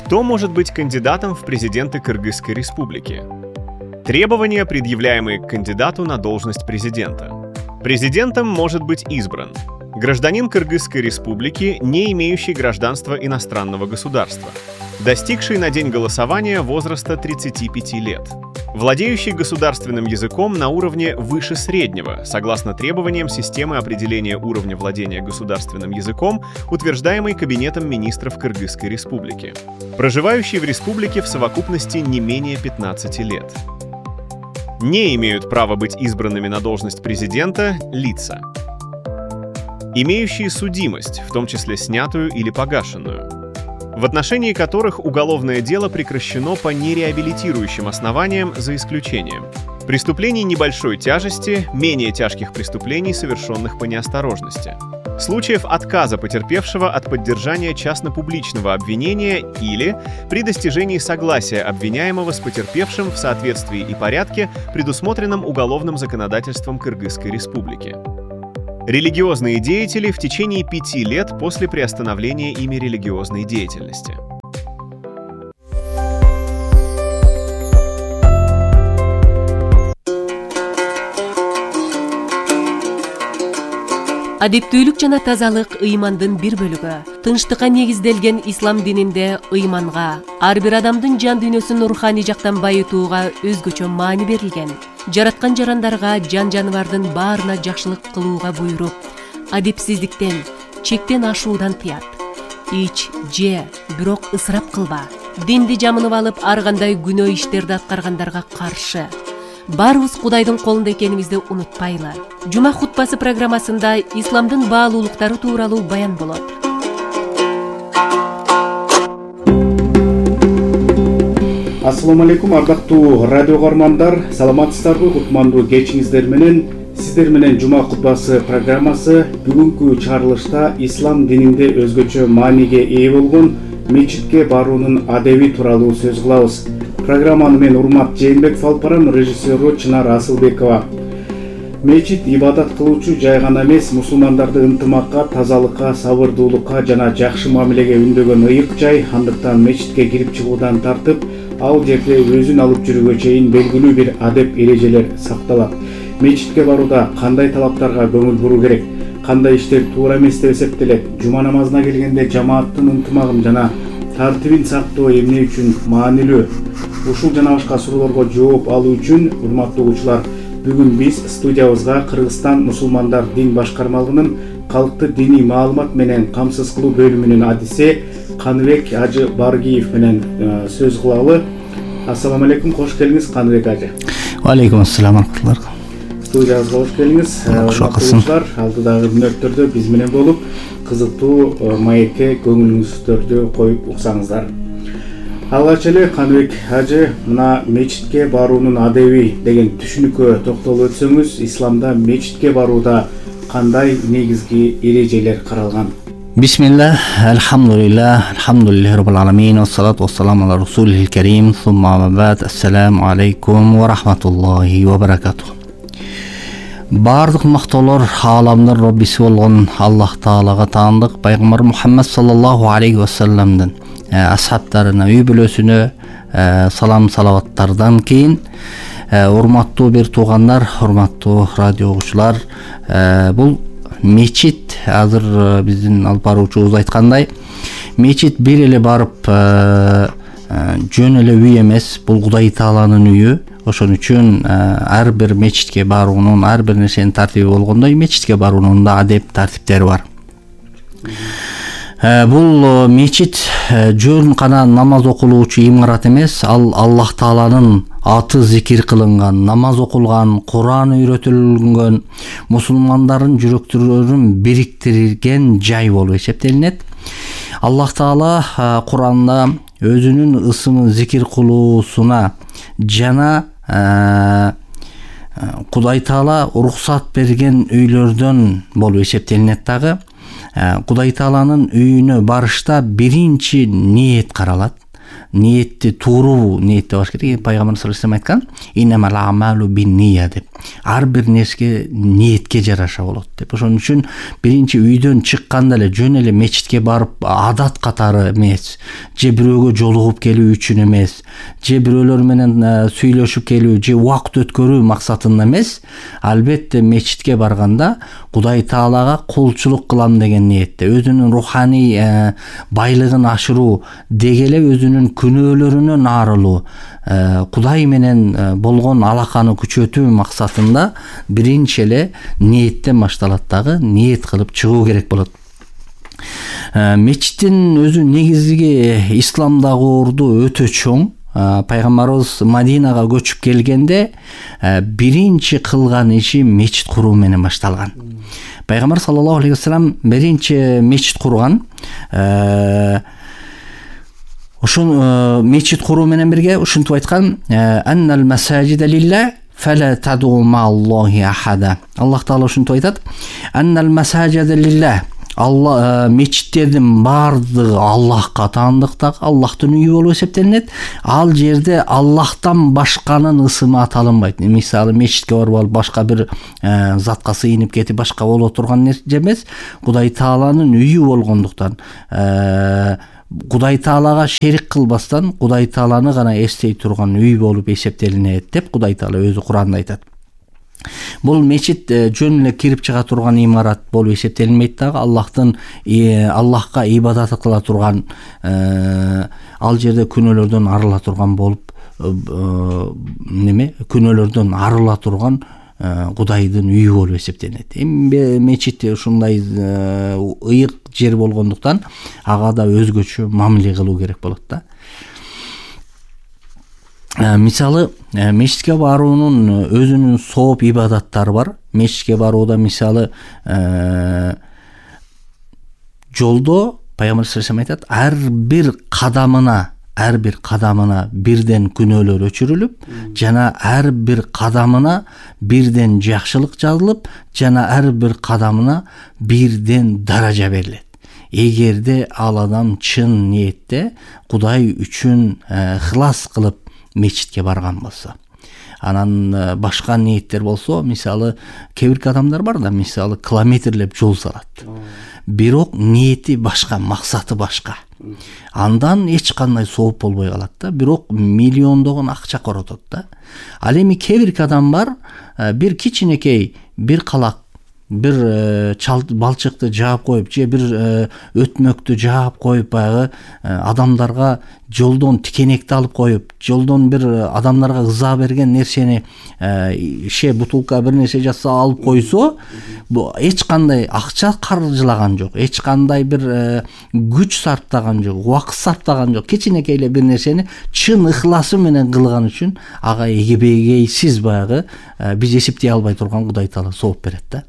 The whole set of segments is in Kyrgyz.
Кто может быть кандидатом в президенты Кыргызской республики? Требования, предъявляемые к кандидату на должность президента. Президентом может быть избран гражданин Кыргызской республики, не имеющий гражданства иностранного государства, достигший на день голосования возраста 35 лет, владеющий государственным языком на уровне выше среднего, согласно требованиям системы определения уровня владения государственным языком, утверждаемой Кабинетом министров Кыргызской республики, проживающий в республике в совокупности не менее 15 лет. Не имеют права быть избранными на должность президента лица, имеющие судимость, в том числе снятую или погашенную, в отношении которых уголовное дело прекращено по нереабилитирующим основаниям за исключением преступлений небольшой тяжести, менее тяжких преступлений, совершенных по неосторожности, случаев отказа потерпевшего от поддержания частно-публичного обвинения или при достижении согласия обвиняемого с потерпевшим в соответствии и порядке, предусмотренном уголовным законодательством Кыргызской республики. Религиозные деятели в течение 5 лет после приостановления ими религиозной деятельности. Адептүүлүк жана тазалык ыймандын бир бөлүгү. Тынчтыкка негизделген ислам дининде ыйманга, ар бир адамдын жан дүйнөсүн руханий жактан байытууга өзгөчө маани берилген. Жараткан жарандарга, жан-жаныбардын баарына жакшылык кылууга буйруп, адепсиздиктен, чектен ашуудан тыят. Ич, же, бирок ысырап кылба. Динди жамынып алып, ар кандай күнөө иштерди аткаргандарга каршы. Барыбыз Кудайдын колунда экенибизди унутпайлы. Жума хутбасы программасында исламдын баалуулуктары тууралуу баян болот. Ассаламу алейкум, ардактуу радио көрөрмандар, саламатсыздарбы? Кутмандуу кечиңиздер менен сиздер менен Жума хутбасы программасы бүгүнкү чыгарылышта ислам дининде өзгөчө мааниге ээ болгон мечитке баруунун адеби тууралуу сөз кылабыз. Программаны мен Урмат Жээнбеков алып барам, режиссеру Чынар Асылбекова. Мечит ибадат кылуучу жай гана эмес, мусулмандарды ынтымакка, тазалыкка, сабырдуулукка жана жакшы мамилеге үндөгөн ыйык жай. Андыктан мечитке кирип чыгуудан тартып, ал жерде өзүн алып жүрүүгө чейин белгилүү бир адеп эрежелер сакталат. Мечитке барууда кандай талаптарга көңүл буруу керек, кандай иштер туура эмес деп эсептелет, жума намазына келгенде жамааттын ынтымагын жана тартибин сактоо эмне үчүн маанилүү? Ушул жана башка суроолорго жооп алуу үчүн, урматтуу угуучулар, бүгүн биз студиябызга Кыргызстан мусулмандар дин башкармалыгынын калкты диний маалымат менен камсыз кылуу бөлүмүнүн адиси Каныбек Ажы Баргиев менен сөз кылалы. Ассаламу алейкум, кош келиңиз Каныбек ажы. Алейкум ассалам аракатуллар. Студиябызга кош келиңиз. Урматтуулар, алдыдагы мүнөттөрдө биз менен болуп, кызыктуу маекке көңүлүңүздөрдү коюп уксаңыздар. Алгач эле Каныбек ажы, мына мечитке баруунун адеби деген түшүнүккө токтолуп өтсөңүз, исламда мечитке барууда кандай негизги эрежелер каралган? Бисмилlah, алхамдулилlah, алхамдулиллахи роббил аламин, вассалату вассаламу ала расулихил карим, сумма амма ба'д, ассаламу алейкум ва рахматуллахи ва баракатух. Бардык мактоолор ааламдын роббиси болгон Аллах Таалага таандык, пайгамбар Мухаммад саллаллаху алейхи ва салламдын асхабтарына, үй бүлөсүнө салам салаваттардан кийин, урматтуу бир туугандар, урматтуу радио угуучулар, бул мечит, азыр биздин алып баруучубуз айткандай, мечит бир эле барып жөн эле үй эмес, бул Кудай Тааланын үйү. Ошон үчүн ар бир мечитке баруунун, ар бир нерсенин тартиби болгондой, мечитке баруунун да адеп тартиптери бар. Бул мечит жөн гана намаз окулуучу имарат эмес, ал Аллах Тааланын аты зикир кылынган, намаз окулган, Куран үйрөтүлгөн, мусулмандардын жүрөктөрүн бириктирген жай болуп эсептелинет. Аллах Таала Куранда өзүнүн ысымын зикир кылуусуна жана Кудай Таала уруксат берген үйлөрдөн болуп эсептелинет дагы. Кудай Тааланын үйүнө барышта биринчи ниет каралат. ниетти тууруу ниетте болуш керек. Пайгамбар саллаллаху алейхи вассалам айткан: "Иннамал амалу бин-нийя" деп. Ар бир нерсе ниетке жараша болот деп. Ошон үчүн биринчи үйдөн чыкканда эле жөн эле мечитке барып адат катары эмес, же бирөөгө жолугуп келүү үчүн эмес, же бирөөлөр менен сүйлөшүп келүү, же убакыт өткөрүү максатында эмес, албетте мечитке барганда Кудай Таалага кулчулук кылам деген ниетте, өзүнүн руханий байлыгын ашыруу, деги эле өзүнүн күнөөлөрүнөн арылуу, Кудай менен болгон алаканы күчөтүү максатында биринчи эле ниеттен башталат, дагы ниет кылып чыгуу керек болот. Мечиттин өзү негизги исламдагы орду өтө чоң. Пайгамбарыбыз Мадинага көчүп келгенде биринчи кылган иши мечит куруу менен башталган. Пайгамбар саллаллаху алейхи вассалам биринчи мечит курган. Ошон мечит куруу менен бирге ушинтип айткан: "Аннал масаджида лилла фала таду мааллахи ахада". Аллах Таала ушинтип айтат: "Аннал масаджида лилла". Мечиттердин баардыгы Аллахка таандыктак, Аллахтын үйү болуп эсептелинет. Ал жерде Аллахтан башканын ысымы аталынбайт. Мисалы, мечитке барып алып башка бир затка сыйынып кетип башка боло турган нерсе эмес. Кудай Тааланын үйү болгондуктан, Кудай Таалага шерик кылбастан Кудай Тааланы гана эстей турган үй болуп эсептелинет деп Кудай Таала өзү Куранда айтат. Бул мечит жөн эле кирип чыга турган имарат болуп эсептелинбейт дагы. Аллахка ибадат кыла турган, ал жерде күнөөлөрдөн арыла турган болуп, күнөөлөрдөн арыла турган Кудайдын үйү болуп эсептелинет. Эми мечит ушундай ыйык жер болгондуктан ага да өзгөчө мамиле кылуу керек болот да. Мисалы, мечитке баруунун өзүнүн сооп ибадаттары бар. Мечитке барууда мисалы жолдо Пайгамбар саллаллаху алейхи вассалам айтат: ар бир кадамына бирден күнөөлөр өчүрүлүп, жана ар бир кадамына бирден жакшылык жазылып, жана ар бир кадамына бирден даража берилет. Эгерде ал адам чын ниетте Кудай үчүн ыхлас кылып мечитке барган болсо. Анан башка ниеттер болсо, мисалы, кээ бир адамдар бар да, мисалы, километрлеп жол салат. Бирок ниети башка, максаты башка. Андан эч кандай сооп болбой калат да, бирок миллиондогон акча коротот да. Ал эми кээ бир адам бар, бир кичинекей, бир калак, бир балчыкты жаап коюп, же бир өтмөктү жаап коюп, баягы адамдарга жолдон тикенекти алып коюп, жолдон бир адамдарга ыза берген нерсени, бутулка бир нерсе жатса алып койсо, эч кандай акча каржылаган жок, эч кандай бир күч сарптаган жок, убакыт сарптаган жок. Кичинекей эле бир нерсени чын ыхласы менен кылган үчүн ага эгебегейсиз баягы биз эсептей албай турган Кудай Таала сооп берет да.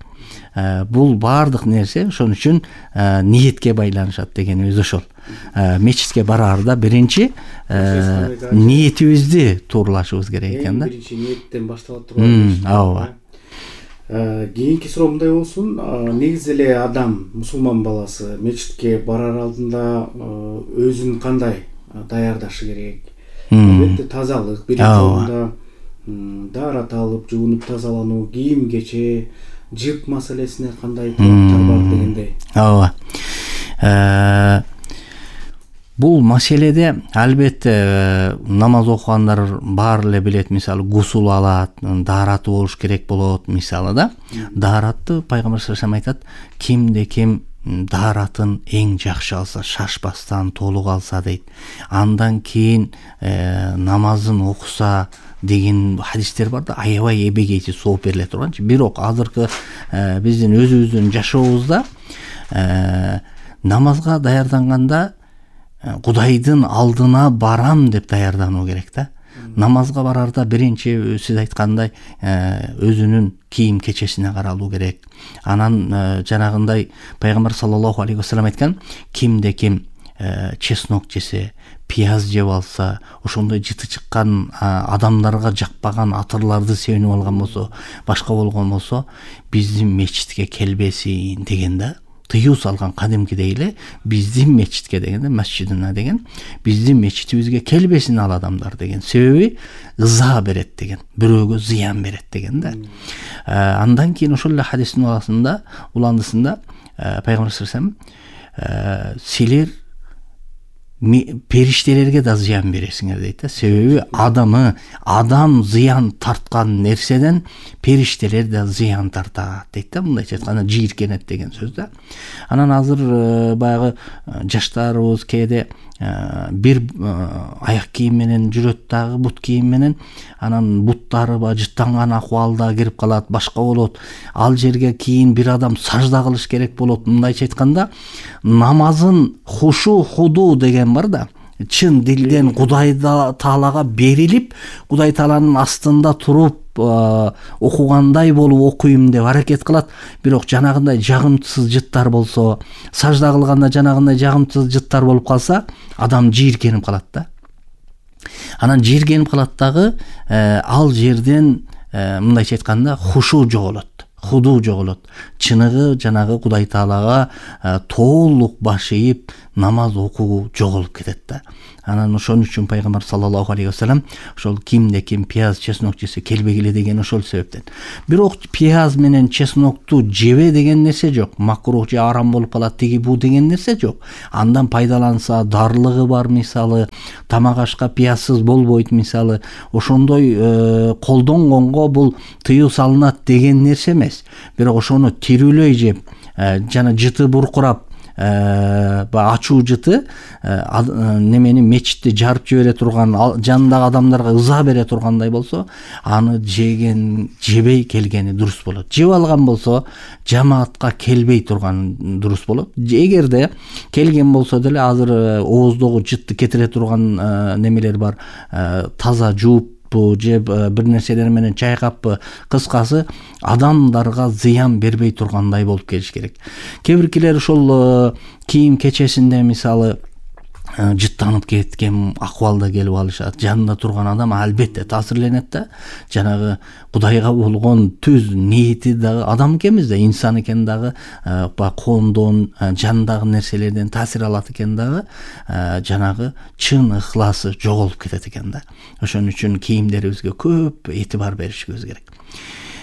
Бул баардык нерсе ошон үчүн ниетке байланышат дегенибиз ошол. Мечитке бараарда биринчи ниетибизди туурлашыбыз керек экен да. Биринчи ниеттен башталат турган. Ооба. Кийинки суроо мындай болсун: негизи эле адам, мусулман баласы мечитке барар алдында өзүн кандай даярдашы керек? Албетте тазалык, биринчи орунда даарат алып, жуунуп тазалануу, кийим кече, жып маселесине кандай талаптар бар дегендей. Ооба. Бул маселеде албетте намаз окугандар баары эле билет. Мисалы, гусул алат, даараты болуш керек болот, мисалы да. Дааратты Пайгамбар саллаллаху алейхи вассалам айтат: кимде-ким дааратын эң жакшы алса, шашпастан толук алса дейт. Андан кийин намазын окуса деген хадистер бар да, аябай эбегейсиз сооп бериле турганчы. Бирок азыркы биздин өзүбүздүн жашообузда намазга даярданганда Кудайдын алдына барам деп даярдануу керек да. Намазга барарда биринчи сиз айткандай өзүнүн кийим кечесине каралуу керек. Анан жанагындай Пайгамбар саллаллаху алейхи вассалам айткан: кимде-ким чеснок жесе, пияз жеп алса, ошондой жыты чыккан адамдарга жакпаган атырларды себинип алган болсо, башка болгон болсо, биздин мечитке келбесин деген да. тыюу салган кадимкидей эле биздин мечитке дегенде масжидина деген биздин мечитибизге келбесин ал адамдар деген. Себеби ыза берет деген, бирөөгө зыян берет деген да. Андан кийин ошол эле хадистин уландысында пайгамбар саллаллаху алейхи силер периштелерге да зыян бересиңер дейт да. Себеби адам зыян тарткан нерседен периштелер да зыян тартат дейт да. Мындайча айтканда жийиркенет деген сөз да. Анан азыр баягы жаштарыбыз кээде бир аяк кийим менен жүрөт дагы, бут кийим менен, анан буттары жыттанган акыбалда кирип калат, башка болот. Ал жерге кийин бир адам сажда кылыш керек болот. Мындайча айтканда намазын худу деген бар да. Чын дилден Кудай Таалага берилип, Кудай Тааланын астында туруп окугандай болуп окуйм деп аракет кылат. Бирок жанагындай жагымсыз жыттар болсо, сажда кылганда жанагындай жагымсыз жыттар болуп калса, адам жийиркенип калат да. Анан жийиркенип калат дагы, ал жерден мындайча айтканда хушу жоголот. Худу жоголот. Чыныгы жанагы Кудай Таалага толук баш ийип намаз окуу жоголуп кетет да. Анан ошон үчүн пайгамбар саллаллаху алейхи вассалам ошол кимде ким пияз, чеснок жесе келбегиле деген ошол себептен. Бирок пияз менен чеснокту жебе деген нерсе жок. Макрух же арам болуп калат тиги бу деген нерсе жок. Андан пайдаланса дарлыгы бар, мисалы тамак ашка пиязсыз болбойт, мисалы ошондой колдонгонго бул тыюу салынат деген нерсе эмес. Бирок ошону тирүүлөй жеп, жана жыты буркурап, ачуу жыты немени мечитти жарып жибере турган, жанындагы адамдарга ыза бере тургандай болсо, аны жебей келгени дурус болот. Жеп алган болсо, жамаатка келбей турган дурус болот. Эгерде келген болсо деле азыр ооздогу жытты кетире турган немелер бар, таза жууп же бир нерселер менен чайкаппы, кыскасы адамдарга зыян бербей тургандай болуп келиш керек. Кээ биркилер ошол кийим кечесинде мисалы жыттанып кеткен акыбалда келип алышат. Жанында турган адам албетте таасирленет да. Жанагы Кудайга болгон түз ниети дагы адам экенбиз да, инсан экен дагы, коомдон, жандагы нерселерден таасир алат экен дагы, жанагы чын ыхласы жоголуп кетет экен да. Ошон үчүн кийимдерибизге көп этибар беришибиз керек.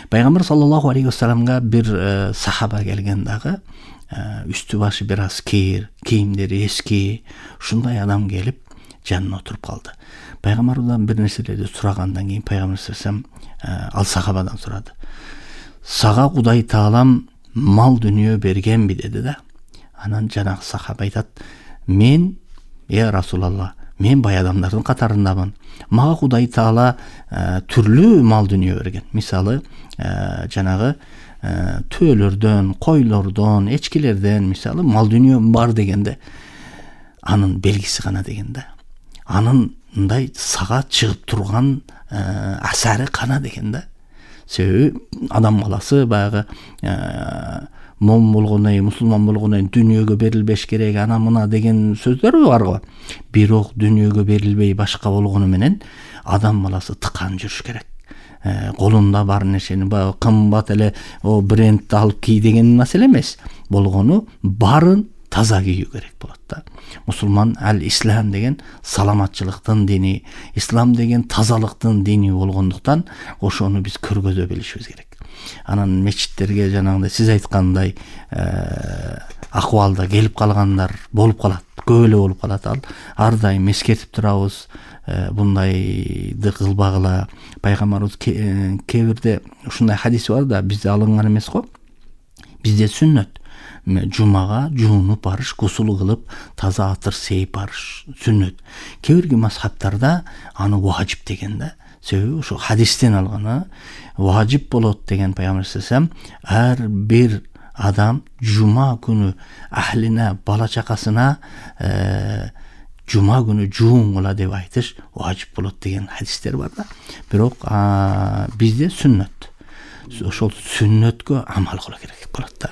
Пайгамбар саллаллаху алейхи вассаламга бир сахаба келген дагы, үстү башы бир аз кийир, кийимдери эски, ушундай адам келип жанына отуруп калды. Пайгамбардан бир нерселерди сурагандан кийин пайгамбар саллаллаху ал сахабадан сурады. Сага Кудай Таалам мал дүнүйө бергенби деди да. Анан жанагы сахаба айтат: "Мен, Расулалла, мен бай адамдардын катарындамын. Мага Кудай Таала түрлүү мал дүнүйө берген. Мисалы, жанагы төөлөрдөн, койлордон, эчкилерден, мисалы мал дүнүйө бар дегенде, анын белгиси гана дегенде. Анындай сага чыгып турган асары кана дегенде. Себеби адам баласы баягы момун болгондон кийин, мусулман болгондон кийин дүнүйөгө берилбеш керек, ана мына деген сөздөр бар го. Бирок дүнүйөгө берилбей башка болгону менен адам баласы тыкан жүрүш керек. Колунда бар нерсени баягы кымбат эле брендти алып кий деген маселе эмес. Болгону барын таза кийүү керек болот да. Мусулман ислам деген саламатчылыктын дини, ислам деген тазалыктын дини болгондуктан ошону биз көргөзө билишибиз керек. Анан мечиттерге жанагындай сиз айткандай акыбалда келип калгандар болуп калат, көп эле болуп калат. Ар дайым эскертип турабыз, бундайды кылбагыла. Пайгамбарыбыз кээ бирде ушундай хадис бар да, бизде алынган эмес го. Бизде сүннөт. Жумага жуунуп барыш, гусул кылып, таза атыр сейип барыш сүннөт. Кээ бирки мазхабтарда аны важип деген да. Себеби ошо хадистен алган, важип болот деген пайгамбар саллаллаху алейхи вассалам ар бир адам жума күнү ахлине, бала чакасына жума күнү жуунгула деп айтыш важип болот деген хадистер бар да. Бирок бизде сүннөт. Ошол сүннөткө амал кылуу керек болот да.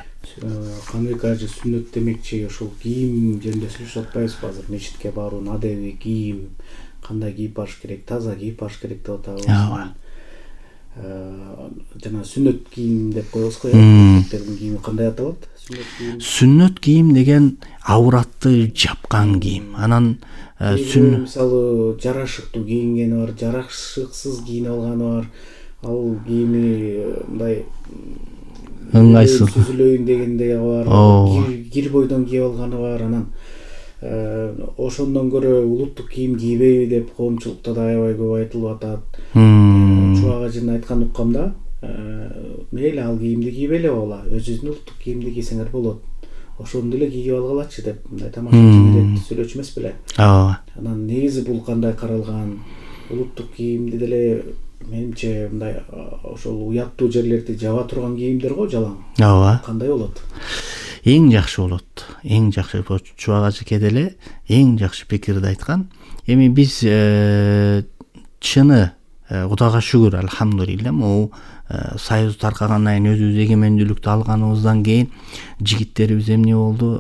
Кандай кажы сүннөт демекчи, ошол кийим жөнүндө сүйлөшүп атпайбызбы азыр? Мечитке баруунун адеби, кийим кандай кийип барыш керек, таза кийип барыш керек деп атабыз. жана сүннөт кийим деп коебуз го. Эркектердин кийими кандай аталат? Сүннөт кийим деген авратты жапкан кийим. Анан мисалы жарашыктуу кийингени бар, жарашыксыз кийинип алганы бар. Ал кийими мындай ыңгайсыз сүзүлөйүн дегендей бар. Кир бойдон кийип алганы бар. Анан ошондон көрө улуттук кийим кийбейби деп коомчулукта да аябай көп айтылып атат. Чубак ажын айткан уккамда, мейли ал кийимди кийбей эле койгула, өзүңүздүн улуттук кийимди кийсеңер болот. Ошону деле кийип алгылачы деп мындай тамашачы сүйлөчү эмес беле? Ооба. Анан негизи бул кандай каралган? Улуттук кийимди деле менимче мындай ошол уяттуу жерлерди жаба турган кийимдер го, жалаң. Ооба. Кандай болот? Эң жакшы болот. Эң жакшы Чубак ажыке деле эң жакшы пикирди айткан. Эми биз чыны Кудайга шүгүр, алхамдулилля, могу союз таркагандан кийин өзүбүз эгемендүүлүктү алганыбыздан кийин жигиттерибиз эмне болду?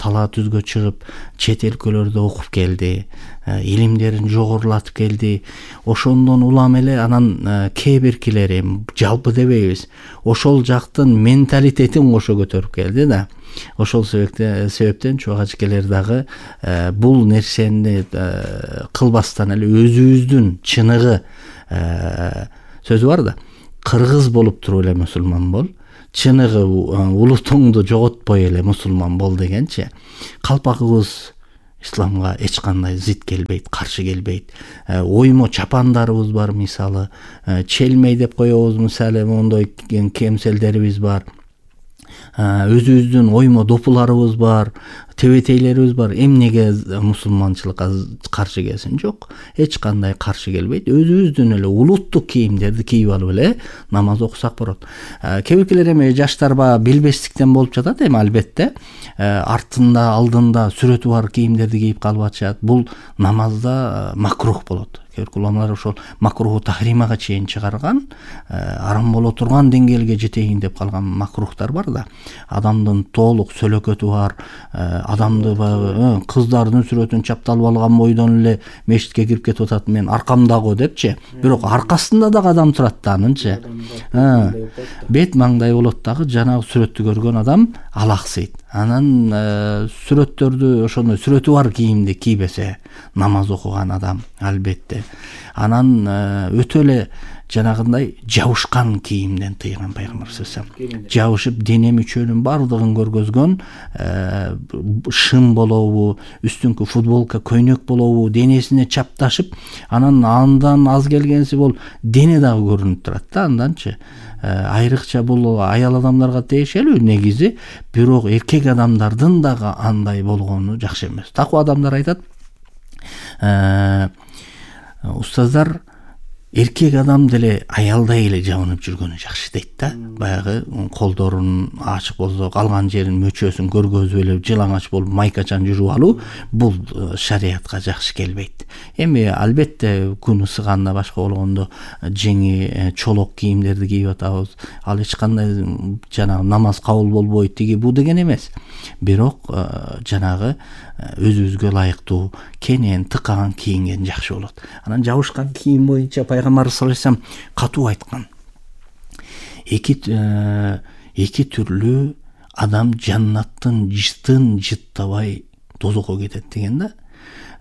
Талаа түзгө чыгып, чет өлкөлөрдө окуп келди, илимдерин жогорулатып келди. Ошондон улам эле анан кээ биркилери, жалпы дебейбиз, ошол жактын менталитетин кошо көтөрүп келди да. Ошол себептен чубак ажыкелер дагы бул нерсени кылбастан эле өзүбүздүн чыныгы сөзү бар да, кыргыз болуп туруп эле мусулман бол, чыныгы улутуңду жоготпой эле мусулман бол дегенчи, калпагыбыз исламга эч кандай зит келбейт, каршы келбейт. Оймо чапандарыбыз бар, мисалы, челмей деп коебуз, мисалы, мондой кемселдерибиз бар. Өзүбүздүн оймо допуларыбыз бар, тебетейлерибиз бар. Эмнеге мусулманчылыкка каршы келсин? Жок, эч кандай каршы келбейт. Өзүбүздүн эле улуттук кийимдерди кийип алып эле намаз окусак болот. Кээ биркилер эми жаштарга билбестиктен болуп жатат, эми албетте артында, алдында сүрөтү бар кийимдерди кийип калып атышат. Бул намазда макрух болот. Уламалар ошол макруху тахримага чейин чыгарган, арам боло турган деңгээлге жетейин деп калган макрухтар бар да. Адамдын толук сөлөкөтү бар, адамды кыздардын сүрөтүн чапталып алган бойдон эле мешитке кирип кетип атат, мен аркамдагы депчи. Бирок аркасында дагы адам турат да, анынчы. Бет маңдай болот дагы, жанагы сүрөттү көргөн адам алаксыйт. Анан сүрөттөрдү, ошондой сүрөтү бар кийимди кийбесе намаз окуган адам албетте. Анан өтө эле жанагындай жабышкан кийимден тыйган пайгамбар саллаллаху алейхи вассалам. Жабышып дене мүчөнүн бардыгын көргөзгөн, шым болобу, үстүңкү футболка, көйнөк болобу, денесине чапташып, андан аз келгенси бол дене дагы көрүнүп турат да, анданчы. Айрыкча бул аял адамдарга тиешелүү негизи, бирок эркек адамдардын дагы андай болгону жакшы эмес. Таква адамдар айтат, устаздар, эркек адам деле аялдай эле жабынып жүргөнү жакшы дейт да. Баягы колдорун ачык болсо, калган жерин мөчөсүн көргөзүп эле жылаңач болуп майкачан жүрүп алуу, бул шариятка жакшы келбейт. Эми албетте күн ысыганда, башка болгондо жеңи чолок кийимдерди кийип атабыз. Ал эч кандай жанагы намаз кабыл болбойт тиги бу деген эмес. Бирок жанагы өзүбүзгө ылайыктуу кенен тыкаган кийинген жакшы болот. Анан жабышкан кийим боюнча пайгамбар саллаллаху алейхи вассалам катуу айткан. Эки түрлүү адам жаннаттын жытын жыттабай тозокко кетет деген да.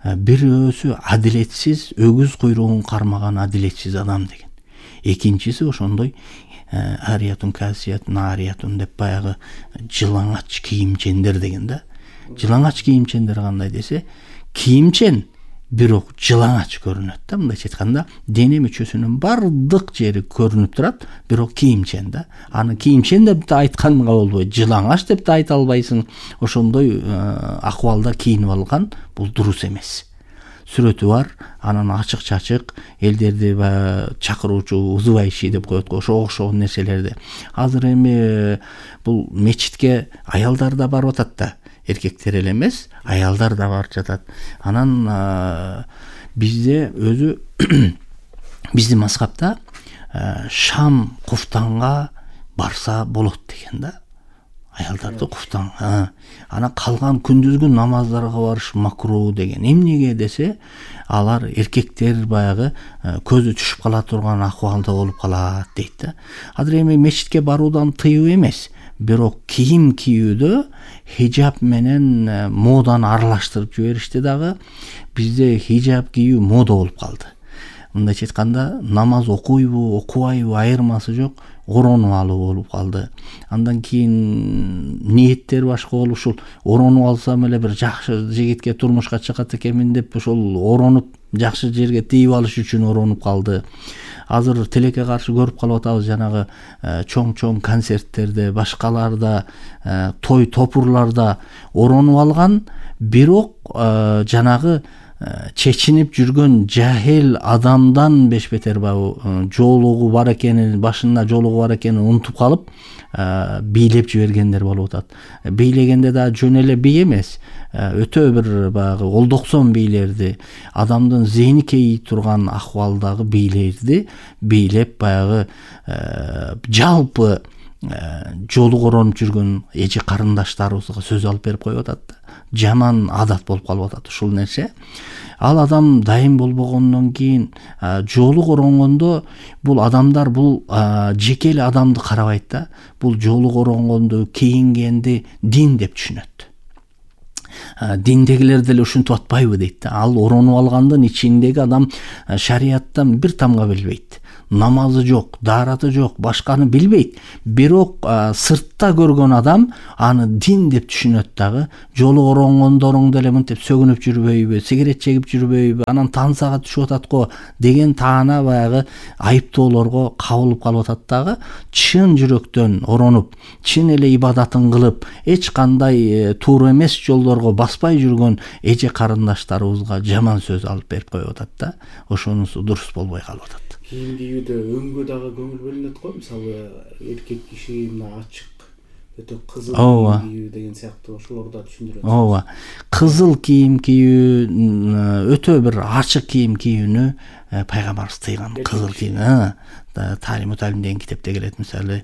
Бирөөсү адилетсиз, өгүз куйругун кармаган адилетсиз адам деген. Экинчиси ошондой ариятун касиятун ариятун деп баягы жылаңач кийимчендер деген да. Жылаңач кийимчендер кандай десе, кийимчен бирок жылаңач көрүнөт да, мындайча айтканда, дене мүчөсүнүн бардык жери көрүнүп турат, бирок кийимчен да. Аны кийимчен деп да айтканга болбойт, жылаңач деп да айта албайсың. Ошондой акыбалда кийинип алган бул дурус эмес. Сүрөтү бар, анан ачык-чачык элдерди чакыруучу узубайши деп коет го, ошого окшогон нерселерди. Азыр эми бул мечитке аялдар да барып атат да. Эркектер эле эмес, аялдар да барып жатат. Анан бизде өзү биздин мазхабта шам куфтанга барса болот деген да. аялдарды куфтан. Анан калган күндүзгү намаздарга барыш макруу деген. Эмнеге десе, алар эркектер баягы көзү түшүп кала турган акыбалда болуп калат дейт да. Азыр эми мечитке баруудан тыюу эмес, бирок кийим кийүүдө хижаб менен моданы аралаштырып жиберишти дагы. Бизде хижаб кийүү мода болуп калды. Мындайча айтканда, намаз окуйбу, окубайбы айырмасы жок, оронуп алуу болуп калды. Андан кийин ниеттер башка болуп, ушул оронуп алсам эле бир жакшы жигитке турмушка чыгат экенмин деп ошол оронуп жакшы жерге тийип алыш үчүн оронуп калды. Азыр тилекке каршы көрүп калып атабыз, жанагы чоң концерттерде, башкаларда, той топурларда оронуп алган, бирок жанагы чечинип жүргөн жахил адамдан бешбетер жоолугу бар экенин, башында жоолугу бар экенин унутуп калып, бийлеп жибергендер болуп атат. Бийлегенде да жөн эле бий эмес, өтө бир баягы олдоксон бийлерди, адамдын зейни кейи турган акыбалдагы бийлерди бийлеп баягы жалпы жоолук оронуп жүргөн эже карындаштарыбызга сөз алып берип коюп атат да. Жаман адат болуп калып атат ушул нерсе. Ал адам дайым болбогондон кийин жоолук оронгондо бул адамдар бул жеке эле адамды карабайт да. Бул жоолук оронгонду, кийингенди дин деп түшүнөт. Диндегилер деле ушинтип атпайбы дейт да. Ал оронуп алгандын ичиндеги адам шарияттан бир тамга билбейт. Намазы жок, даараты жок, башканы билбейт. Бирок сыртта көргөн адам аны дин деп түшүнөт дагы. Жолу оронгондоруң деле мынтип сөгүнүп жүрбөйбү, сигарет чегип жүрбөйбү, анан тансага түшүп атат го деген таана баягы айыптоолорго кабылып калып атат дагы. Чын жүрөктөн оронуп, чын эле ибадатын кылып, эч кандай туура эмес жолдорго баспай жүргөн эже карындаштарыбызга жаман сөз алып берип коюп атат да. Ошонусу дурус болбой калып атат. Кийим кийүүдө өңгө дагы көңүл бөлүнөт го. Мисалы, эркек киши мына ачык, өтө кызыл кийим кийүү деген сыяктуу ошолорду түшүндүрөт. Ооба. Кызыл кийим кийүү, өтө бир ачык кийим кийүүнү пайгамбарыбыз тыйган. Кызыл кийим. Талим деген китепте келет, мисалы,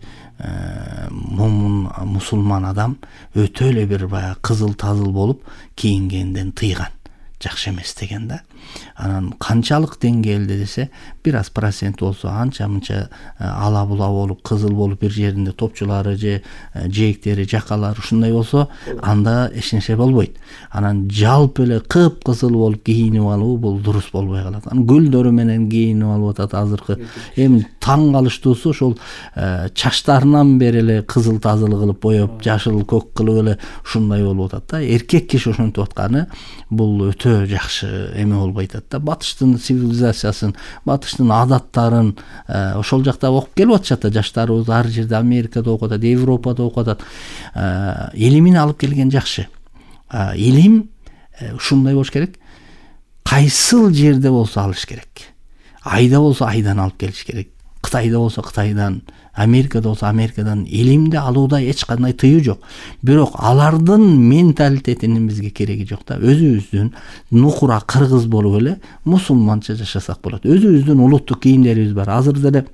момун мусулман адам өтө эле бир баягы кызыл тазыл болуп кийингенден тыйган. Жакшы эмес деген да. Анан канчалык деңгээлде десе, бир аз процент болсо, анча-мынча ала була болуп, кызыл болуп бир жеринде топчулары же жээктери, жакалары ушундай болсо, анда эч нерсе болбойт. Анан жалпы эле кып-кызыл болуп кийинип алуу бул дурус болбой калат. Анан гүлдөрү менен кийинип алып атат азыркы. Эми таң калыштуусу ошол чачтарынан бери эле кызыл тазыл кылып боеп, жашыл көк кылып эле ушундай болуп атат да. Эркек киши ошентип атканы бул өтө жакшы эме болбой атат да. Батыштын цивилизациясын, батыштын адаттарын ошол жакта окуп келип атышат да. Жаштарыбыз ар жерде, Америкада окуп атат, Европада окуп атат. Илимин алып келген жакшы. Илим ушундай болуш керек. Кайсыл жерде болсо алыш керек. Айда болсо айдан алып келиш керек. Кытайда болсо Кытайдан, Америкада болсо Америкадан. Илимди алууда эч кандай тыюу жок. Бирок алардын менталитетинин бизге кереги жок да. Өзүбүздүн нукура кыргыз болуп эле мусулманча жашасак болот. Өзүбүздүн улуттук кийимдерибиз бар. Азыр деле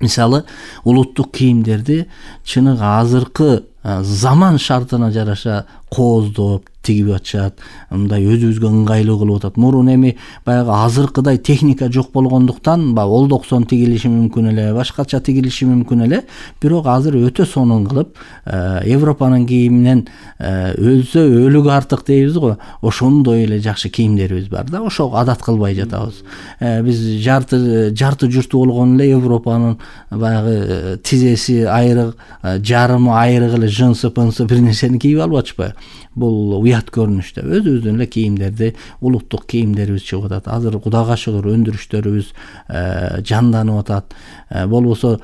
мисалы улуттук кийимдерди чыныгы азыркы заман шартына жараша кооздоп тигип атышат. Мындай өзүбүзгө ыңгайлуу кылып атат. Мурун эми баягы азыркыдай техника жок болгондуктан олдоксон тигилиши мүмкүн эле, башкача тигилиши мүмкүн эле. Бирок азыр өтө сонун кылып, Европанын кийиминен өлсө өлүгү артык дейбиз го. Ошондой эле жакшы кийимдерибиз бар да. Ошого адат кылбай жатабыз. Биз жарты журту болгон эле Европанын баягы тизеси айрык, жарымы айрык эле жынсы-пынсы бир нерсени кийип алып атышпайбы? Бул уят көрүнүштө. Өзүбүздүн эле кийимдерди, улуттук кийимдерибиз чыгып атат. Азыр Кудайга шүгүр өндүрүштөрүбүз жанданып атат. Болбосо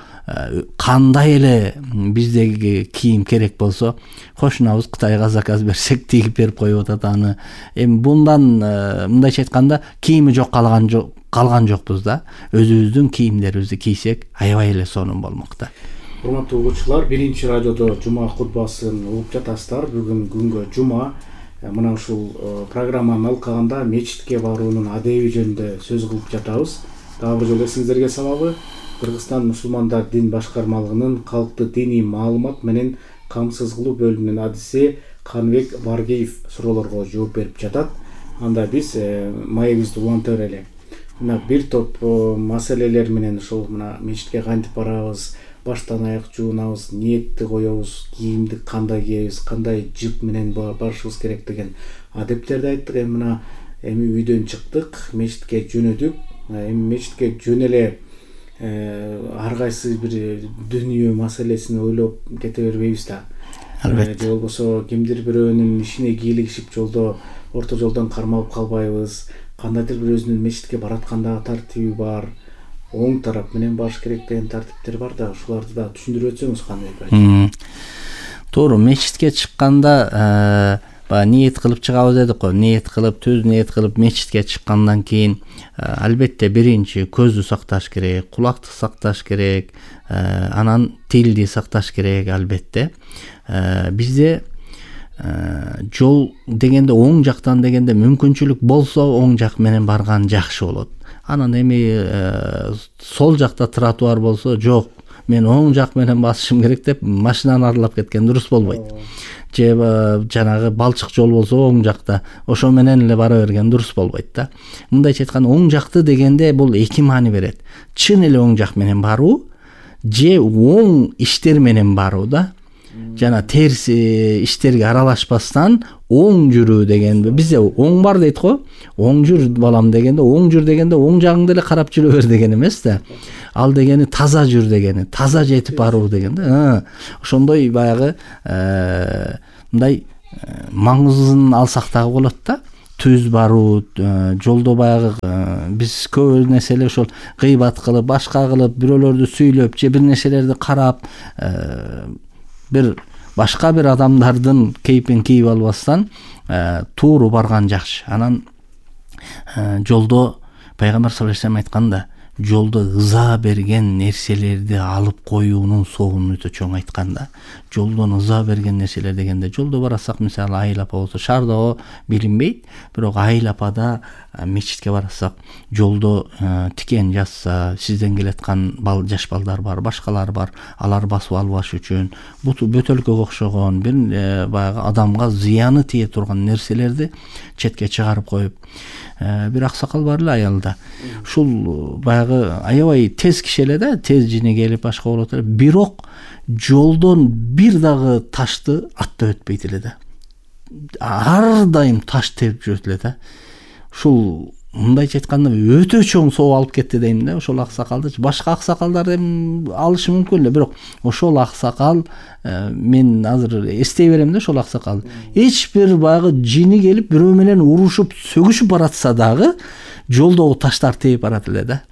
кандай эле биздеги кийим керек болсо, кошунабыз Кытайга заказ берсек тигип берип коюп атат аны. Эми bundan мындайча айтканда кийими жок калган жокпуз да. Өзүбүздүн кийимдерибизди кийсек аябай эле сонун болмок да. Урматтуу угуучулар, биринчи радиодо жума кутбасын угуп жатасыздар. Бүгүн күнгө жума. Мына ушул программаны алкаганда мечитке баруунун адеби жөнүндө сөз кылып жатабыз. Дагы бир жолу эсиңиздерге салалы. Кыргызстан мусулмандар дин башкармалыгынын калктык диний маалымат менен камсыз кылуу бөлүмүнүн адиси Канбек Баргиев суроолорго жооп берип жатат. Анда биз маегибизди уланта берели. Мына бир топ маселелер менен ушул мына мечитке кантип барабыз, баштан аяк жуунабыз, ниетти коебуз, кийимди кандай кийебиз, кандай жып менен барышыбыз керек деген адептерди айттык. Эми үйдөн чыктык, мечитке жөнөдүк. Эми мечитке жөн эле ар кайсы бир дүнүйө маселесин ойлоп кете бербейбиз да. Албетте. Же болбосо кимдир бирөөнүн ишине кийлигишип орто жолдон кармалып калбайбыз. Кандайдыр бир өзүнүн мечитке бараткандагы тартиби бар, оң тарап менен барыш керек деген тартиптер бар да. Ушуларды да түшүндүрүп өтсөңүз кандай? Туура, мечитке чыкканда ниет кылып чыгабыз дедик го. Ниет кылып, түз ниет кылып мечитке чыккандан кийин албетте биринчи көздү сакташ керек, кулакты сакташ керек, анан тилди сакташ керек албетте. Бизде жол дегенде оң жактан дегенде мүмкүнчүлүк болсо оң жак менен барган жакшы болот. Анан эми сол жакта тротуар болсо, жок, мен оң жак менен басышым керек деп машинаны аралап кеткен дурус болбойт. Же жанагы балчык жол болсо оң жакта ошо менен эле бара берген дурус болбойт да. Мындайча айтканда оң жакты дегенде бул эки маани берет. Чын эле оң жак менен баруу же оң иштер менен баруу да. Жана терс иштерге аралашпастан оң жүрүү деген. Бизде оң бар дейт го. Оң жүр балам дегенде, оң жүр дегенде оң жагыңды эле карап жүрө бер деген эмес да. Ал дегени таза жүр дегени, таза жетип баруу деген да. Ошондой баягы мындай маңызын алсак дагы болот да. Түз баруу, жолдо баягы биз көп нерселер ошол гыйбат кылып, башка кылып, бирөөлөрдү сүйлөп, же бир нерселерди карап, бир башка бир адамдардын кейпин кийип албастан тууру барган жакшы. Анан жолдо пайгамбар саллаллаху алейхи вассалам айтканда, жолдо ыза берген нерселерди алып коюунун соогун өтө чоң айтканда. Жолдон ыза берген нерселер дегенде, жолдо барасак, мисалы айыл апа болсо, шаардагы билинбейт, бирок айыл апада мечитке барасак, жолдо тикен жазса, сизден келаткан жаш балдар бар, башкалар бар, алар басып албаш үчүн буту бөтөлкөгө окшогон бир баягы адамга зыяны тие турган нерселерди четке чыгарып коюп, бир аксакал бар эле аялда. Ушул баягы аябай тез киши эле да, тез жини келип башка болот эле, бирок жолдон бир дагы ташты аттап өтпөйт эле да. Ар дайым таш терип жүрөт эле да. Ушул мындайча айтканда өтө чоң соо алып кетти дейм да. Ошол аксакалды башка аксакалдар эми алышы мүмкүн эле, бирок ошол аксакал, мен азыр эстей берем да, ошол аксакал эч бир баягы жини келип бирөө менен урушуп, сөгүшүп баратса дагы жолдогу таштар теип барат эле да.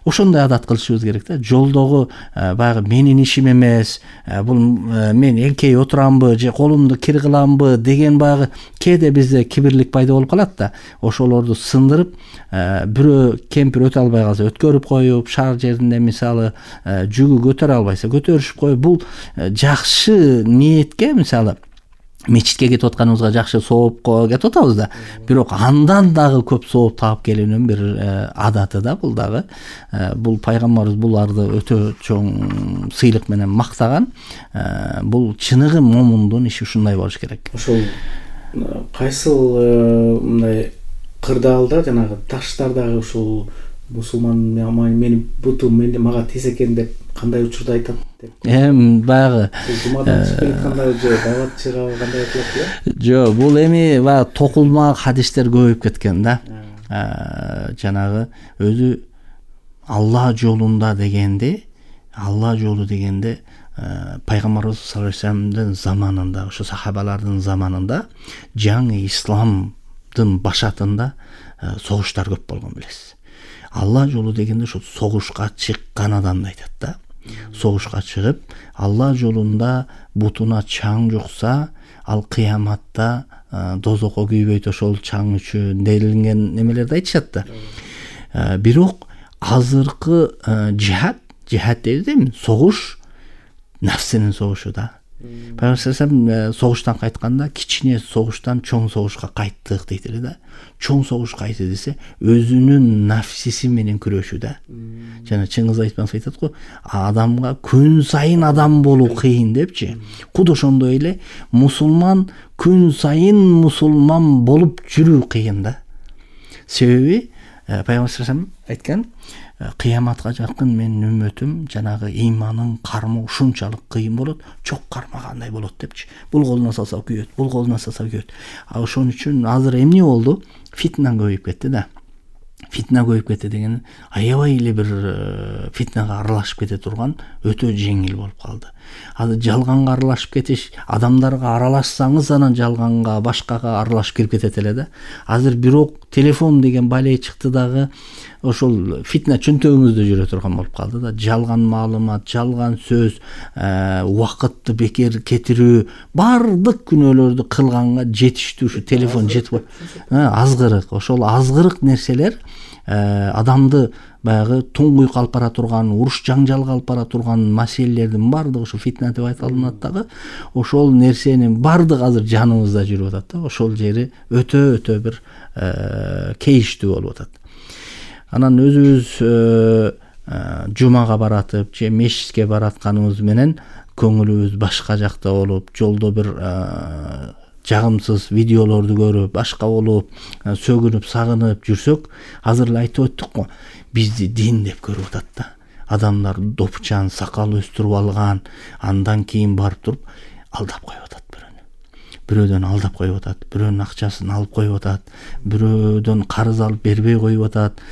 Ошондой адат кылышыбыз керек да. Жолдогу баягы менин ишим эмес, бул мен эңкей отурамбы же колумду кир кыламбы деген баягы кээде бизде кибирлик пайда болуп калат да. Ошолорду сындырып, бирөө кемпир өтө албай калса өткөрүп коюп, шаар жеринде мисалы жүгү көтөрө албайса көтөрүшүп коюп, бул жакшы ниетке, мисалы мечитке кетип атканыбызга жакшы сооп кетип атабыз да. Бирок андан дагы көп сооп таап келүүнүн бир адаты да бул дагы. Бул пайгамбарыбыз буларды өтө чоң сыйлык менен мактаган. Бул чыныгы момундун иши ушундай болуш керек. Ошол кайсыл мындай кырдаалда жанагы таштар дагы ушул мусулман мени бутум мага тез экен деп кандай учурда айтат деп. Баягы жумадан чыгып келатканда же даватчыга кандай айтылат? Жок, бул эми баягы токулма хадистер көбөйүп кеткен да. Жанагы өзү Алла жолунда дегенде, Алла жолу дегенде пайгамбарыбыз саллаллаху алейхи вассаламдын заманында, ошо сахабалардын заманында жаңы исламдын башатында согуштар көп болгон билесиз. Алла жолу дегенде ошо согушка чыккан адамды айтат да. Согушка чыгып, Алла жолунда бутуна чаң жукса, ал кыяматта дозокко күйбөйт ошол чаң үчүн делинген немелерди айтышат да. Бирок азыркы жихад дейбиз дейм, согуш нафсинин согушу да. Пайгамбар согуштан кайтканда кичине согуштан чоң согушка кайттык дейт эле да. Чоң согуш кайсы десе, өзүнүн нафсиси менен күрөшүү да. Жана Чыңгыз Айтматов айтат го, адамга күн сайын адам болуу кыйын депчи. Куд ошондой эле мусулман күн сайын мусулман болуп жүрүү кыйын да. Себеби Пайгамбар айткан, кыяматка жакын менин үммөтүм жанагы ыйманын кармоо ушунчалык кыйын болот, чок кармагандай болот депчи. Бул колуна салса күйөт, бул колуна салса күйөт. Ошон үчүн азыр эмне болду? Фитна көбөйүп кетти да. Фитна көбөйүп кетти деген аябай эле бир фитнага аралашып кете турган өтө жеңил болуп калды. Азыр жалганга аралашып кетиш, адамдарга аралашсаңыз анан жалганга, башкага аралашып кирип кетет эле да. Азыр бирок телефон деген бале чыкты дагы ошол фитна чөнтөгүңүздө жүрө турган болуп калды да. Жалган маалымат, жалган сөз, убакытты бекер кетирүү, бардык күнөөлөрдү кылганга жетиштүү ушу телефон жетип азгырык. Ошол азгырык нерселер адамды баягы туңгуйук алып бара турган, уруш жаңжалга алып бара турган маселелердин бардыгы ушу фитна деп айтылат дагы. Ошол нерсенин бардыгы азыр жаныбызда жүрүп атат да. Ошол жери өтө бир кейиштүү болуп атат. Анан өзүбүз жумага баратып же мешитке баратканыбыз менен көңүлүбүз башка жакта болуп, жолдо бир жагымсыз видеолорду көрүп, башка болуп, сөгүнүп, сагынып жүрсөк, азыр эле айтып өттүк го, бизди дин деп көрүп атат да. Адамдар допчан, сакал өстүрүп алган, андан кийин барып туруп алдап коюп атат бирөөнү. Бирөөдөн алдап коюп атат, бирөөнүн акчасын алып коюп атат, бирөөдөн карыз алып бербей коюп атат,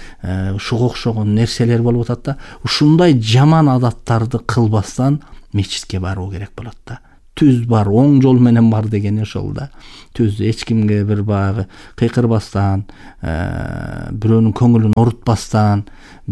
ушуга окшогон нерселер болуп атат да. Ушундай жаман адаттарды кылбастан мечитке баруу керек болот да. Түз бар, оң жол менен бар деген ошол да. Түз эч кимге бир баягы кыйкырбастан, бирөөнүн көңүлүн орутпастан,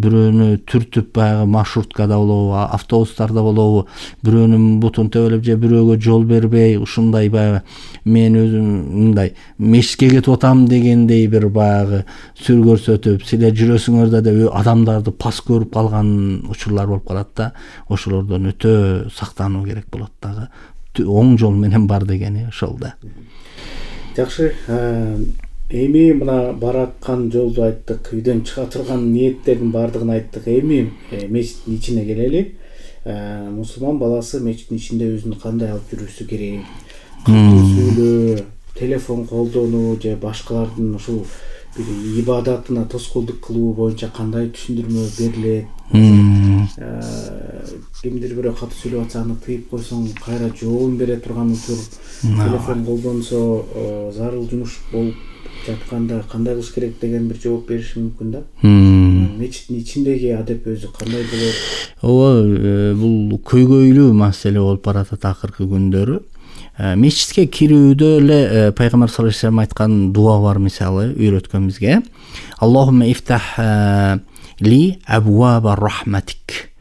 бирөөнү түртүп баягы маршруткада болобу, автобустарда болобу, бирөөнүн бутун төбөлөп же бирөөгө жол бербей, ушундай баягы мен өзүм мындай мешитке кетип атам дегендей бир баягы сүр көрсөтүп, силер жүрөсүңөр да адамдарды пас көрүп калган учурлар болуп калат да. Ошолордон өтө сактануу керек болот дагы. Оң жол менен бар дегени ошол да. Жакшы, эми мына бараткан жолду айттык, үйдөн чыга турган ниеттердин баардыгын айттык. Эми мечиттин ичине келели. Мусулман баласы мечиттин ичинде өзүн кандай алып жүрүшү керек? Сүйлөө, телефон колдонуу же башкалардын ушул бир ибадатына тоскоолдук кылуу боюнча кандай түшүндүрмө берилет? Кимдир бирөө катуу сүйлөп атса аны тыйып койсоң кайра жообун бере турган учур, телефон колдонсо зарыл жумуш болуп жатканда кандай кылыш керек деген бир жооп бериши мүмкүн да. Мечиттин ичиндеги адеп өзү кандай болот? Ооба, бул көйгөйлүү маселе болуп баратат акыркы күндөрү. Мечитке кирүүдө эле пайгамбар саллаллаху алейхи вассалам айткан дуа бар, мисалы үйрөткөн бизге. Аллахумма ифтах ли абваба рахматик.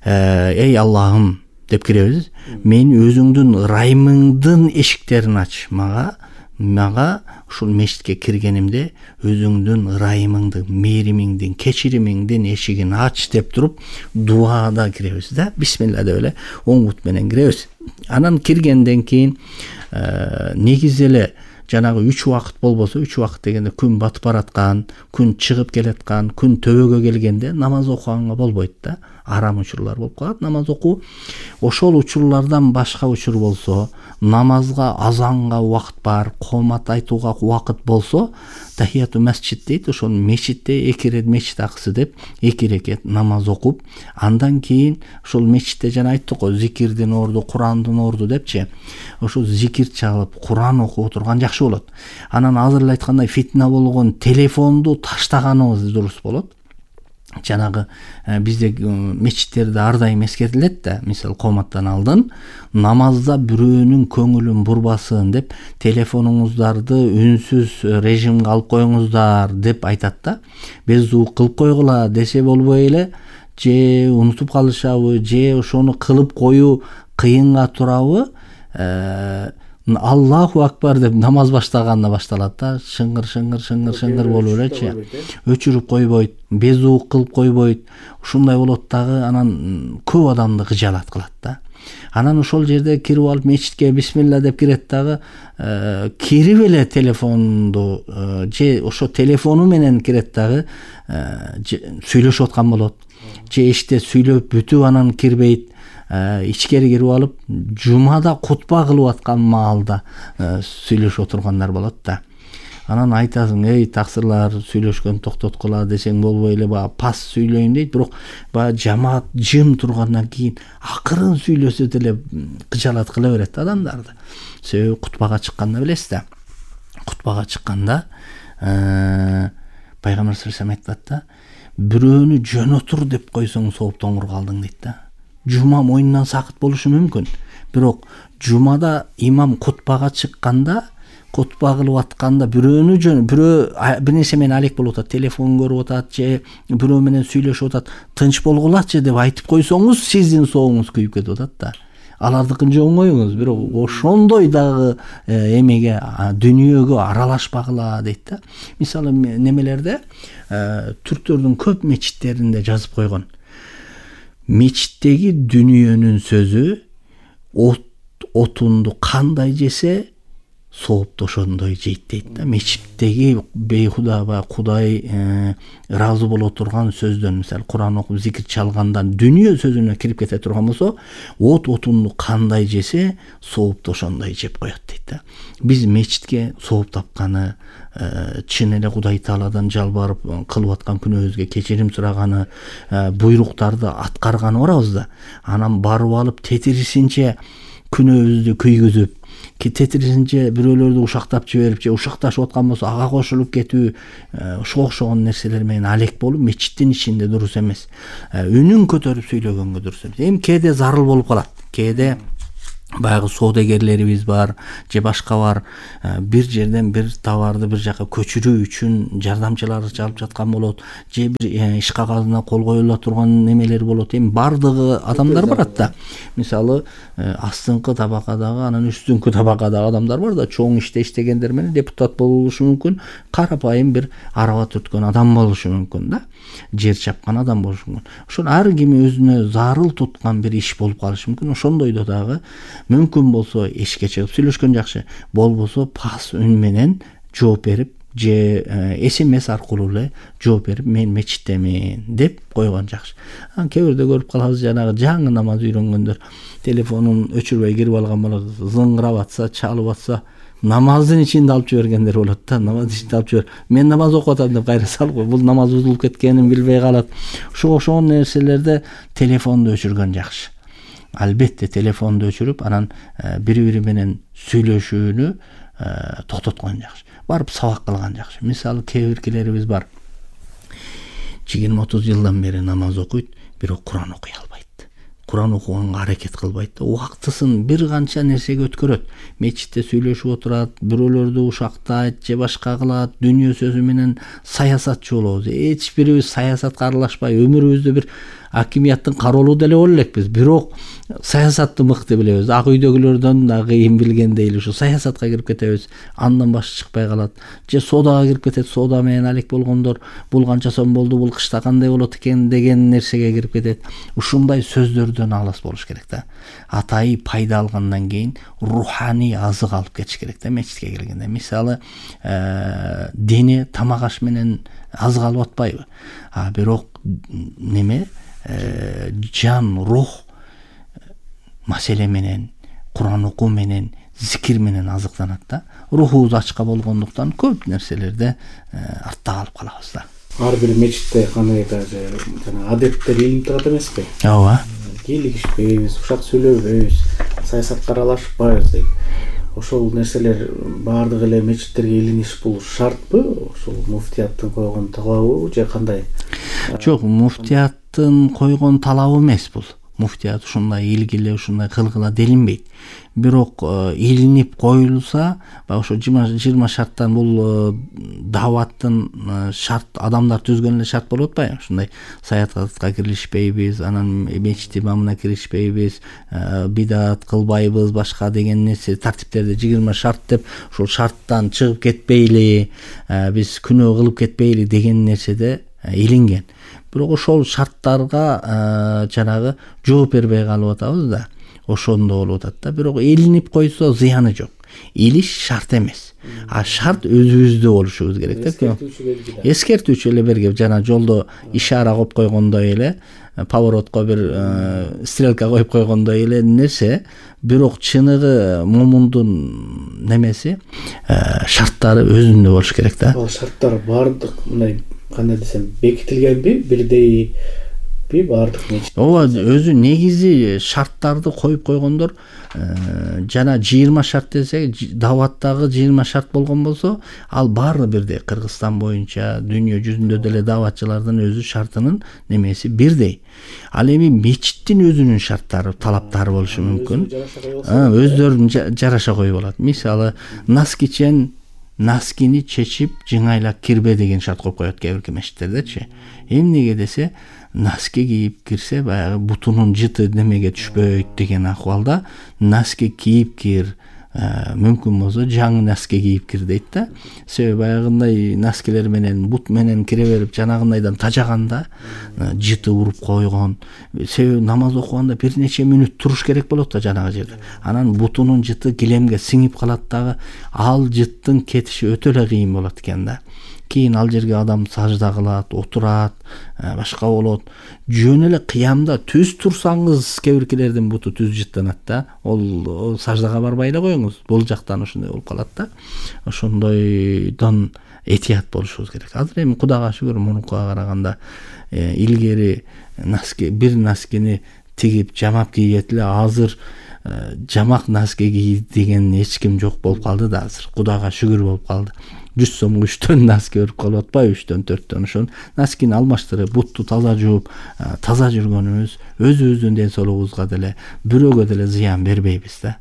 Эй Аллахым деп киребиз. Мен өзүңдүн ырайымыңдын эшиктерин ач. Мага ушул мечитке киргенимде өзүңдүн ырайымыңдын, мээримиңдин, кечиримиңдин эшигин ач деп туруп дуада киребиз да. Бисмилла деп эле оң бут менен киребиз. Анан киргенден кийин негизи эле жанагы 3 убакыт болбосо, 3 убакыт дегенде күн батып бараткан, күн чыгып келаткан, күн төбөгө келгенде намаз окуганга болбойт да. Арам учурлар болуп калат намаз окуу. Ошол учурлардан башка учур болсо, намазга, азанга убакыт бар, коомат айтууга убакыт болсо, тахияту масжид дейт, ошол мечитте 2 рет мечит акысы деп 2 рекет намаз окуп, андан кийин ошол мечитте жана айттык го, зикирдин орду, Курандын орду депчи. Ошол зикир чалып, Куран окуп турган жакшы болот. Анан азыр эле айткандай фитна болгон телефонду таштаганыбыз дурус болот. Жанагы бизде мечиттерде ар дайым эскертилет да, мисалы кооматтан алдын намазда бирөөнүн көңүлүн бурбасын деп телефонуңуздарды үнсүз режимге алып коюңуздар деп айтат да. Беззуук кылып койгула десе болбой эле, же унутуп калышабы, же ошону кылып коюу кыйынга турабы, Аллаху акбар деп намаз баштаганда башталат да, шыңгыр болуп элечи, өчүрүп койбойт, безуук кылып койбойт, ушундай болот дагы, анан көп адамды кыжаалат кылат да. Анан ошол жерде кирип алып мечитке бисмилла деп кирет дагы кирип эле телефонду же ошо телефону менен кирет дагы сүйлөшүп аткан болот. Же эшикте сүйлөп бүтүп анан кирбейт. Ичкери кирип алып жумада кутба кылып аткан маалда сүйлөшүп отургандар болот да. Анан айтасың, эй таксырлар, сүйлөшкөн токтоткула десең болбой эле баягы пас сүйлөйүн дейт, бирок баягы жамаат жым тургандан кийин акырын сүйлөсө деле кыжаалат кыла берет адамдарды. Себеби кутбага чыкканда билесиз да. Кутбага чыкканда пайгамбар саллаллаху алейхи айтат да, бирөөнү жөнөтүр деп койсоң сооптоңур калдың дейт да. Жума мойнунан сакыт болушу мүмкүн, бирок жумада имам кутбага чыкканда, кутба кылып атканда бирөө бир нерсе менен алек болуп атат, телефон көрүп атат же бирөө менен сүйлөшүп атат, тынч болгулачы деп айтып койсоңуз, сиздин сооңуз күйүп кетип атат да. Алардыкын же оңоюңуз, бирок ошондой дагы эмеге, дүйнөгө аралашпагыла дейт да. Мисалы немелерде түрктөрдүн көп мечиттеринде жазып койгон. Мечиттеги дүйнөнүн сөзү отунду кандай жесе соопто ошондой жейт дейт да. Мечиттеги бейхуда баягы Кудай ыраазы боло турган сөздөн, мисалы Куран окуп зикир чалгандан дүйнө сөзүнө кирип кете турган болсо, отунду кандай жесе соопто ошондой жеп коет дейт да. Биз мечитке сооп тапканы, чын эле Кудай Тааладан жалбарып кылып аткан күнөөбүзгө кечирим сураганы, буйруктарды аткарганы барабыз да. Анан барып алып тетирисинче күнөөбүздү күйгүзүп, тетирисинче бирөөлөрдү ушактап жиберип же ушакташып аткан болсо ага кошулуп кетүү, ошого окшогон нерселер менен алек болуп мечиттин ичинде дурус эмес. Үнүн көтөрүп сүйлөгөнгө дурус эмес. Эми кээде зарыл болуп калат. Кээде баягы соодагерлерибиз бар же башка бар, бир жерден бир товарды бир жака көчүрүү үчүн жардамчылар чалып жаткан болот, же бир иш кагазына кол коюла турган немелер болот. Эми бардыгы адамдар барат да. Мисалы астыңкы табакадагы, анан үстүңкү табакадагы адамдар бар да, чоң иште иштегендер менен депутат болушу мүмкүн, карапайым бир араба түрткөн адам болушу мүмкүн да, жер чапкан адам болушу мүмкүн. Ошол ар ким өзүнө зарыл туткан бир иш болуп калышы мүмкүн. Ошондойдо дагы мүмкүн болсо эшикке чыгып сүйлөшкөн жакшы, болбосо пас үн менен жооп берип же СМС аркылуу эле жооп берип, мен мечиттемин деп койгон жакшы. Кээ бирде көрүп калабыз, жанагы жаңы намаз үйрөнгөндөр телефонун өчүрбөй кирип алган болот, зыңгырап атса, чалып атса, намаздын ичинде алып жибергендер болот да. Намаз ичинде алып жибер, мен намаз окуп атам деп кайра салып кой, бул намаз бузулуп кеткенин билбей калат. Ошого окшогон нерселерде телефонду өчүргөн жакшы. Албетте телефонду өчүрүп, анан бири-бири менен сүйлөшүүнү токтоткон жакшы. Барып сабак кылган жакшы. Мисалы кээ биркилерибиз бар, 20-30 жылдан бери намаз окуйт, бирок Куран окуй албайт. Куран окуганга аракет кылбайт. Убактысын бир канча нерсеге өткөрөт. Мечитте сүйлөшүп отурат, бирөөлөрдү ушактайт же башка кылат, дүйнө сөзү менен саясатчы болобуз. Эч бирибиз саясатка аралашпай, өмүрүбүздү бир акимияттын кароолу деле боло элекпиз, бирок саясатты мыкты билебиз. Ак үйдөгүлөрдөн да кыйын билгендей эле ушу саясатка кирип кетебиз, андан башы чыкпай калат. Же соодага кирип кетет, соода менен алек болгондор, бул канча сом болду, бул кышта кандай болот экен деген нерсеге кирип кетет. Ушундай сөздөрдөн алыс болуш керек да. Атайы пайда алгандан кийин руханий азык алып кетиш керек да мечитке келгенде. Мисалы, дене тамак аш менен азык алып атпайбы? Бирок неме жан, рух маселе менен, Куран окуу менен, зикир менен азыктанат да. Рухубуз ачка болгондуктан көп нерселерде артта калып калабыз да. Ар бир мечитте кандайдыр жана адеттер илинип турат эмеспи? Ооба. Кийлигишпейбиз, ушак сүйлөбөйбүз, саясатка аралашпайбыз дейт. Ошол нерселер баардык эле мечиттерге илиниш бул шартпы? Ошол муфтияттын койгон талабы же кандай? Жок, муфтияттын койгон талабы эмес бул. Муфтият ушундай илгиле, ушундай кылгыла делинбейт. Бирок илинип коюлса, ошо 20 шарттан бул даваттын шарт, адамдар түзгөн эле шарт болуп атпайбы? Ушундай саясатка киришпейбиз, анан мечит имамына киришпейбиз, бидат кылбайбыз, башка деген нерсе тартиптерди 20 шарт деп, ошол шарттан чыгып кетпейли, биз күнөө кылып кетпейли деген нерседе илинген. Бирок ошол шарттарга жанагы жооп бербей калып атабыз да. ошондо болуп атат да. Бирок илинип койсо зыяны жок. Илиш шарт эмес. А шарт өзүбүздө болушубуз керек да. Эскертүүчү эле бергеп жана жолдо ишара коюп койгондой эле, поворотко бир стрелка коюп койгондой эле нерсе, бирок чыныгы момундун немеси, шарттары өзүндө болуш керек да. Ал шарттар бардык мындай кандай десем бекитилгенби, бирдейби бардык нече? Ооба, өзү негизи шарттарды коюп койгондор, жана 20 шарт десек, даваттагы 20 шарт болгон болсо, ал баары бирдей. Кыргызстан боюнча дүйнө жүзүндө деле даватчылардын өзү шартынын немеси бирдей. Ал эми мечиттин өзүнүн шарттары, талаптары болушу мүмкүн. Өздөрүнүн жараша коюп алат. Мисалы, наскини чечип жыңайлап кирбе деген шарт коюп коет кээ бир мечиттердечи. Эмнеге десе, носки кийип кирсе, баягы бутунун жыты немеге түшпөйт деген акыбалда носки кийип кир, мүмкүн болсо жаңы носки кийип кир дейт да. Себеби баягындай носкилер менен бут менен кире берип жанагындайдан тажаганда жыты уруп койгон. Себеби намаз окуганда бир нече мүнөт туруш керек болот да жанагы жерде. Анан бутунун жыты килемге сиңип калат дагы, ал жыттын кетиши өтө эле кыйын болот экен да. Кийин ал жерге адам сажда кылат, отурат, башка болот. Жөн эле кыямда түз турсаңыз, кээ биркилердин буту түз жыттанат да. Ол саждага барбай эле коюңуз. Бул жактан ошондой болуп калат да. Ошондойдон этият болушубуз керек. Азыр эми Кудайга шүгүр мурункуга караганда илгери бир носкини тигип жамап кийет эле, азыр жамак носки кий деген эч ким жок болуп калды да азыр. Кудайга шүгүр болуп калды. 100 сомго 3төн носки өрүп калып атпайбы, 3төн 4төн. Ошон носкини алмаштырып, бутту таза жууп, таза жүргөнүбүз өзүбүздүн ден соолугубузга деле, бирөөгө деле зыян бербейбиз да.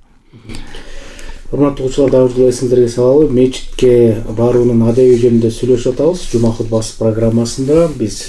Урматтуу угуучулар, дагы эсиңиздерге салалы, мечитке баруунун адеби жөнүндө сүйлөшүп атабыз. Жума хутбасы программасында биз